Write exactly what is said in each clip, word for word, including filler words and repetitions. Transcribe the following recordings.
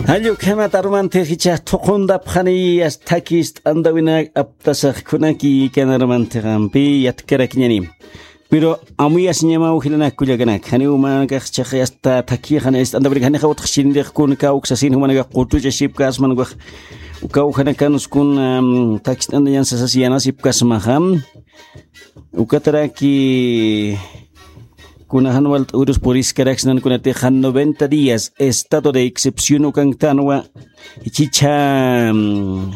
Jall ukhamat arumantix jichhax thuqhuntapxani, as thakist'antawinak aptasax kunaki kan arumantixampi yatkarakiñani. Pero amuyasiñamaw jilanak kullakanak, janiw umanakax chaqay asta thakixani ist'antawinak, janixa utjxinirix kun kawksasin jumanakax qutuchasipkasman ukax, ukawjanakanus kun, am, thakist'antañan sasas yanasipkasmaxa. Ukataraki kuna jan walt'urus puriskaraksnan kunatixa noventa días estado de excepción ukanktanwa, jichha, mm,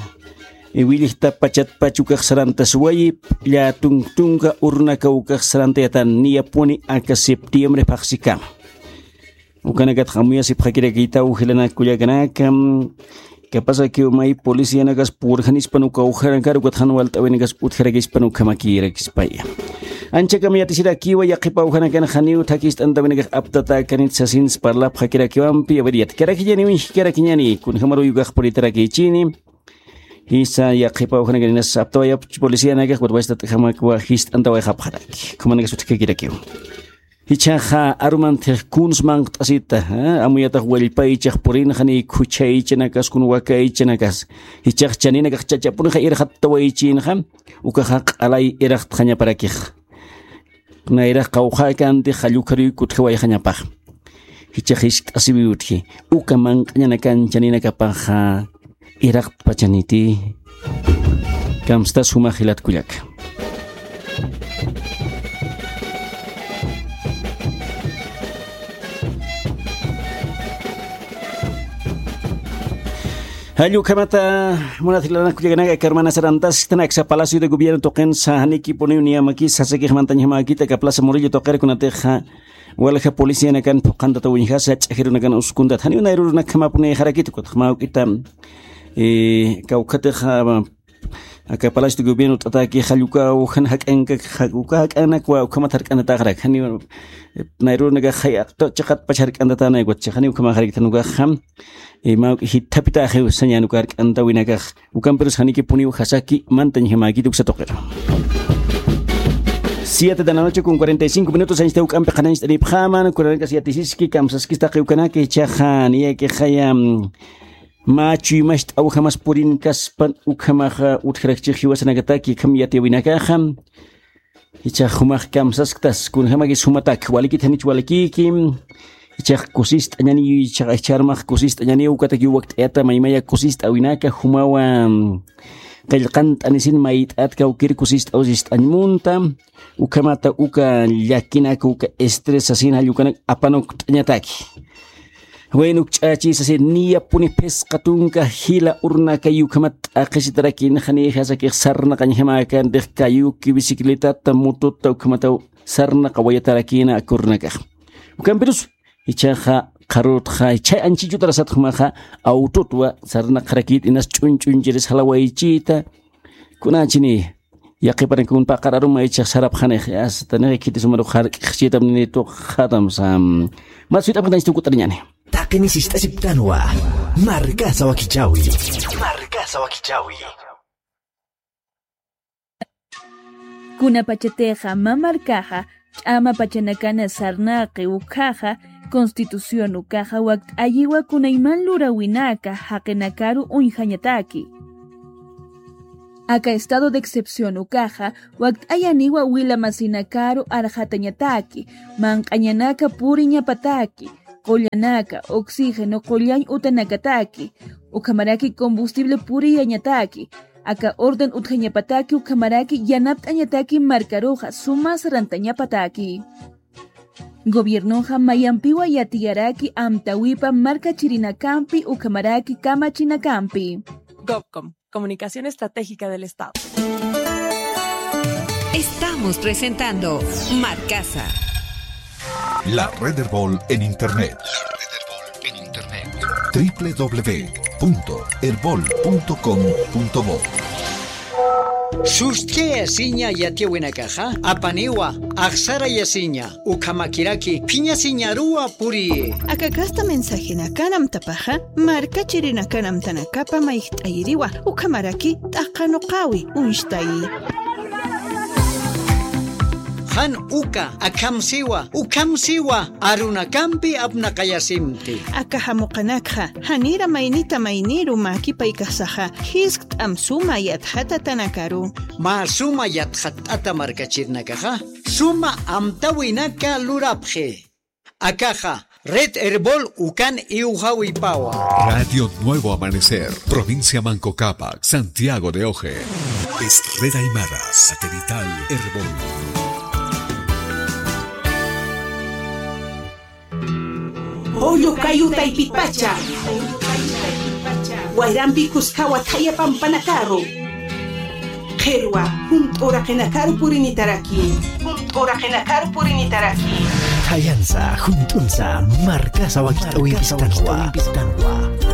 willjta pachatpach ukax sarantaswayi, lla tunk tunka urnaka ukax sarantayatan, niyapuni aka septiembre phaxsikama. Ukanakatxa amuyasipxakirakïtaw jilanak kullakanaka, mm, Kapasakiw may policianakas purjanispan uka ujanakar, ukat jan walt'awinakas utjarakispan ukhamakïrakispaya. Anchakama yatisirakiwa, yaqhipa ujanakan janiw thakist'antawinakax aptatäkanit sasins parlapxakirakiwampi, a ver, yatkarakiñaniw, injkarakiñani, kunjamaruy ukax puritarakïchini. Jisa yaqhipa ujanakan inas aptawayapch policianakax, ukat wachtat'jamakwa jist'antawayxapxaraki. Ukhamanakas utjakirakiw. Jichhaxa arumantix kuns manqt'asita, ¿eh? Amuyatax wallpaychax purinxa ni khuchhaychanakas kun wakaychanakas. Jichhax chaninakax chachapunixa irxattawaychinxa, ukaxa q'alay irxtxañaparakix. Nayrax qawqhäkantix jallukharuyki utjawayxañapax. Jichhax jiskt'asiwi utji, uka manq'añanakan chaninakapaxa irxtpachaniti. Kamstas jumax jilat kullaka. Jall ukhamata, munat jilanak kullakanaka, aka arumana sarantasktan aksa Palacio de Gobierno tuqinsa, janikipuniw niyamakis, sasakix mantañjamäkit aka Plaza Murillo tuqir kunatixa, walja policianakan phuqhantata uñjasa, ch'ajirunakan uskuntat. Janiw nayrurunakjamäpuniyaxarakit, ukatxa mä juk'ita, eh, kawkhatix, ah, aka Palacio de Gobierno t'ataki jall uka ujan jak'anka, ja-, uka jak'anakwa ukhamat jark'antatäxarak. Janiw, eh, nayrurunakax jay aqta chiqatpach jark'antatäna, ukat chixaniw ukhamäxarakit jan ukaxa, eh, mä juk'i jithapitäxiw sañän uka jark'antawinakax. Ukampirus janikipuniw jasaki mantañjamäkit uksa tuqir. Siete de la noche con cuarenta y cinco minutos, anchita juk'ampi qhanañcht'anipxäman, kunanakas yatisiski, kamsaskis taqi ukanaka, jichhaxa niyakixaya, mm, mä chuymacht'awjamas purinkaspan, ukhamaxa utjarakchix jiwasanakataki, akham yatiyäwinakaxa. Jichhax jumax kamsasktas, kunjamakis jumatak, walikit janich walikïki. Jichhax kusist'añaniw, jichhax jichha armax kusist'añaniw, ukatakiw wakt'ayata maymaya kusist'awinaka, jumawa, mm, qillqant'anisin mayt'at kawkir kusist'aw sist'añ munta, ukhamata uka llakinaka, uka estrés sasin jall ukanak apanukt'añataki. Bueno, ukch'achi sasin niyapuni phisqa tunka jila urnakay ukhamat t'aqhisitarakïna, janixa sakix sarnaqañjamäkantix kayuki, bicicletata, motota, ukhamataw sarnaqawayatarakïna aka urnakax. Ukampirus, jichhaxa qharürutxa, jichhay anchhichutarasat jumaxa, awtutwa sarnaqxarakït inas ch'uñ ch'uñchiris jalawaychita, kunachini, yaqhipanak kun paqar aruma jichhax sarapxanix, asta nix khiti sumaru jark'xchitam nini tuqxatam sam. Mä suyt'apxatañcht'aw kut'ariñäni. Taqini sist'asipktanwa. Markasa wakichäwi. Markasa wakichäwi. Kunapachatixa mä markaxa ch'ama pachanakana sarnaqi ukhaxa, Constitución ukaxa wakt'ayiwa kunayman luräwinaka jaqinakaru uñjañataki. Aka estado de excepción ukaxa wakt'ayaniwa wila masinakaru arxatañataki, manq'añanaka puriñapataki, qullanaka, oxígeno qullañ utanakataki, ukhamaraki combustible puriyañataki, aka orden utjañapataki, ukhamaraki yanapt'añataki markaruxa suma sarantañapataki. Gobiernoxa mayampiwa yatiyaraki amtäwipa markachirinakampi ukhamaraki kamachinakampi. Gobcom, Comunicación Estratégica del Estado. Estamos presentando Markasa. La Red Erbol en Internet. La Red Erbol en Internet. W W W punto erbol punto com punto bo. Sust'ayasiña yatiyäwinakaxa, apaniwa, axsarayasiña, ukhamakiraki, phiñasiñaruwa puriyi. Aka kasta mensajenakan amtapaxa, markachirinakan amtanakapa mayjt'ayiriwa, ukhamaraki t'aqanuqäwi, uñstayi. Jan uka, akham siwa, ukham siwa, arunakampi apnaqayasimti. Aka jamuqanakxa, janira maynita mayniru mäkipaykasaxa, jiskt'am suma yatxatatanakaru. Mä suma yatxatt'ata markachirinakaxa, suma amtawinaka lurapxi. Akaxa, Red Erbol ukan iwjawipawa. Radio Nuevo Amanecer, provincia Manco Cápac, Santiago de Oje. Es Red Aymara, satelital Erbol. Julio Cayo taypipacha. Wayrampi kuskawa thaya pampanakaru. Qhirwa, junt'u uraqinakaru purinitaraki. Junt'u uraqinakaru purinitaraki. Thayansa, junt'unsa, markasa wakit'awimpistanwa.